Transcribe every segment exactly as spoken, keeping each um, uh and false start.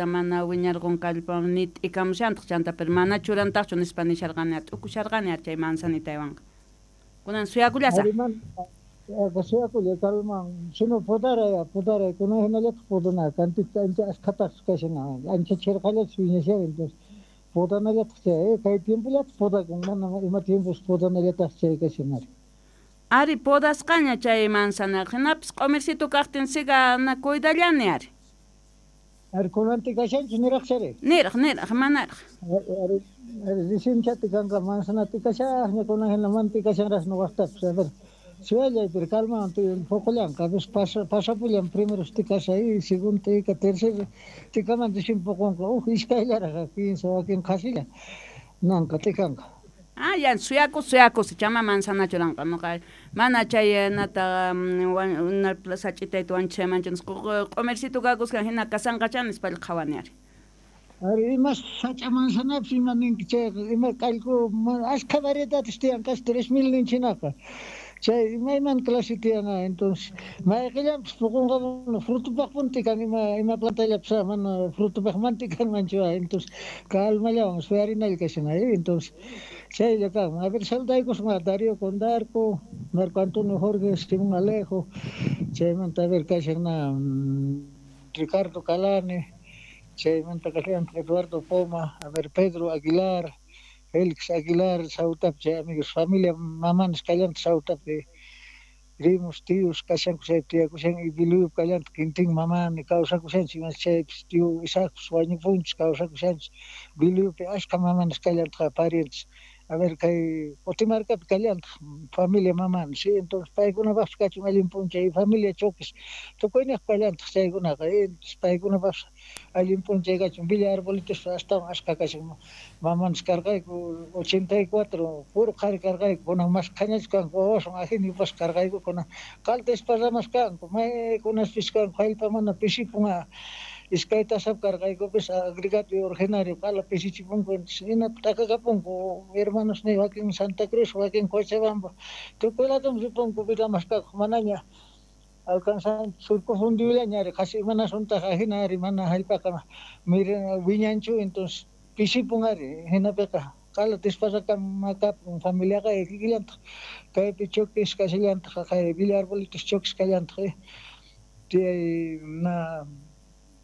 Mana wiñarqun kallpa ni t'ikamushantaq chanta, pero mana churantaqchu nispa nisharqani, t'ukusharqani chay manzanitaywanqa. Kunan suyakullasaq. Suyakulla kalman, sino podaray, podaray, kunan hinallataq podana, kantita ancha askhataq kashan, ancha chirqallachu wiñashan, entonces podanallataq chay, kay tiempollataq podakun, mana ima tiempos podanallataq chay kashan ari. Ari podasqaña chay manzana, hinapis q'umircito kaqtin siga na cuidallani ari. Ari kunanti kashanchu niraq chari? Niraq, niraq, manaraq. Ari, ari recién kanqa manzana tikashaqña kunan hina mana tikashanraq ñuqaqtapas, a ver, suyallay pero calma poqollanqa, a veces pasa pasapullan primero tikasha y segundo tika tercero tikaman recién poqonqa, uj iskayllaraq kinsa wakin qhasilla nanqa tikanqa. Ah, ya, suyakus, suyakus, chama manzana churanqa, nuqa mana chay nata sach'itayta wanchaymanchu q'umircito kakusqa hina kasanqachá nispalla qhawani ari. Ari ima sach'a manzanapis ima ninki chayqa ima k'allku ashkha variedades tiyan casi tres mil ninchinaqa chay imayman clase tiyan, entonces mayqillanpis poqonqa frutupaqpuni tikan ima ima plantallapis mana frutupaq mana tikanmanchu, entonces calmallawan suyarinalla kashan entonces chaylla kanman. A ver, saludaykusqa Darío Condarco, Marco Antonio Jorge, Simón Alejo, chaymanta a ver kashan na Ricardo Calane, chaymanta kashan Eduardo Poma, a ver Pedro Aguilar, Félix Aguilar, Sautapi chay amigos, familia mamanis kallantaq Sautapi, primos, tíos kashanku chaypi tiyakushan y Biluyupi kallantaq Quintín mamani kawsakushanchik ima chaypis tío Isaacpis wañupunchis kawsakushanchik Biluyupi ashka mamanis kallantaq parientes. A ver kay Qutimarkapi kallantaq familia mamani, sí, entonces paykunapaqpis kachun allin p'unchay familia Choques tukuyniq kallantaq chaykunaqa, entonces paykunapaqpis allin p'unchay kachun. Villa Arbolitos astawan ashka kashan mamanis karqayku ochenta y cuatro puro qhari karqayku, kunan mashkhañachu kanku wawasun ajina yupasqa karqayku, kunan qalta esparramas kanku maykunaspis kanku jallp'a mana pisipun iskay tasap karqaykupis agregato y originario qala pisichipunku, entonces hinata t'akakapunku hermanos ni wakin Santa Cruz wakin Cochabamba tukuy ladoman ripunku vida mask'akuq manaña alcanzan surco fundiullaña ari qhasi imanasuntaq ajina ari mana jallp'aqa wiñanchu, entonces pisipun ari hinapiqa qala desparramakapun familiaqa kikillantaq kaypi Choques kashallantaq kay Villa Arbolitos Choques kallantaq tiyay na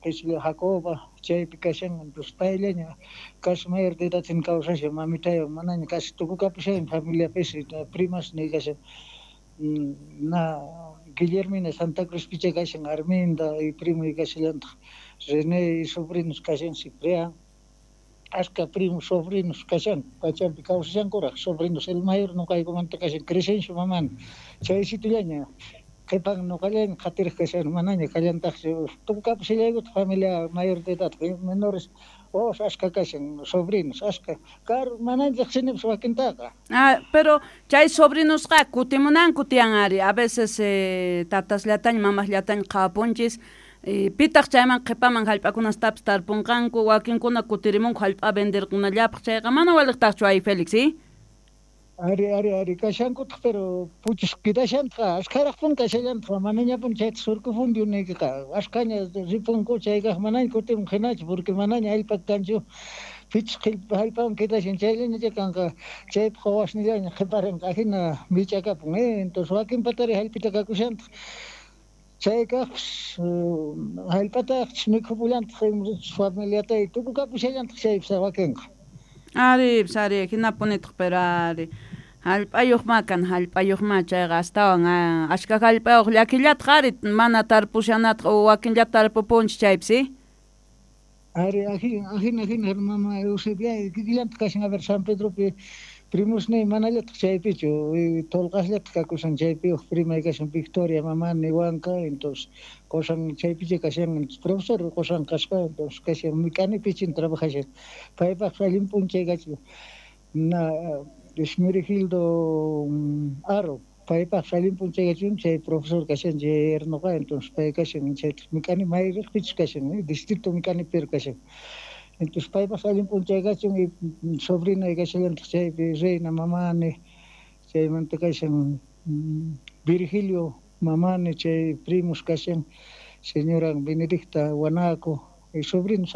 Jacoba chaypi kashan, entonces payllaña casi mayor de edad kawsashan mamitaywan manaña casi tukukapushan familiapis primas ni kashan na Guillermina Santa Cruz picha kashan Arminda y primo y kashallantaq René y sobrinos kashan Ciprián ashka primos sobrinos kashan pachampi kawsashankuraq sobrinos el mayor ñuqaykumanta kashan Crescencio mamani chaysitullaña qhipan ñuqallaña qhatiraq kashan manaña kallantaqchu tukukapushallaykutaq familia mayor de edad menores wawas ashka kashan sobrinos ashka karu manaña riqsinipis wakintaqa. Ah, pero chay sobrinosqa kutimunanku tiyan ari, a veces eh, tatasllataña mamasllataña qhawapunchis pitaq chayman qhipaman jallp'akunastapis tarpunqanku wakinkuna kutirimunku jallp'a venderkunallapaq chayqa mana waliqtaqchu ay Félix, ¿sí? Ari, ari, ari, kashankutaq pero puchus quedashantaq ashkharaqpun kashallantaq manañapun chayta surco fundiu niykiqa ashkhaña ripunku chaykaq manaña kutimun hinachu porque manaña allpa kanchu pichus jallpawan quedashan chayllaña kanqa chaypaq wawasnillaña qhiparinqa ajina mich'akapun, eh, entonces wakinpatari jallp'ita kakushantaq chaykaqpis jallp'ataqchis mikhupullantaq familiata tukukapushallantaq chaypis wakinqa. Ari, ari, hinapunitaq pero ari jallp'ayuqma kan jallp'ayuqma chayqa astawan ashka jallp'ayuq llakillataq ari mana tarpushanataq o wakinllata tarpupunchis chaypis, ¿sí? Ari, ajina, ajina, ajina, mama Eusebia, kikillantaq kashan a ver San Pedropi primosniy manallataq chaypichu tolqasllataq kakushan chaypi uj primay kashan Victoria mamani Huanca, entonces qosan chaypicha kashan profesor qosan kasqa, entonces kashan mik'ani pichin trabajashan paypaq allin p'unchay kachun na Esmerigildo Aro paypaq allin p'unchay kachun chay profesor kashan chay yernoqa, entonces pay kashan chaytaq mik'ani may riqpichus kashan distrito mik'ani pero kashan, entonces paypaq allin p'unchay kachun y sobrina kashallantaq chaypi Reina mamani chaymanta kashan Virgilio mamani chay primos kashan señora Benedicta Guanaco Sobrinos.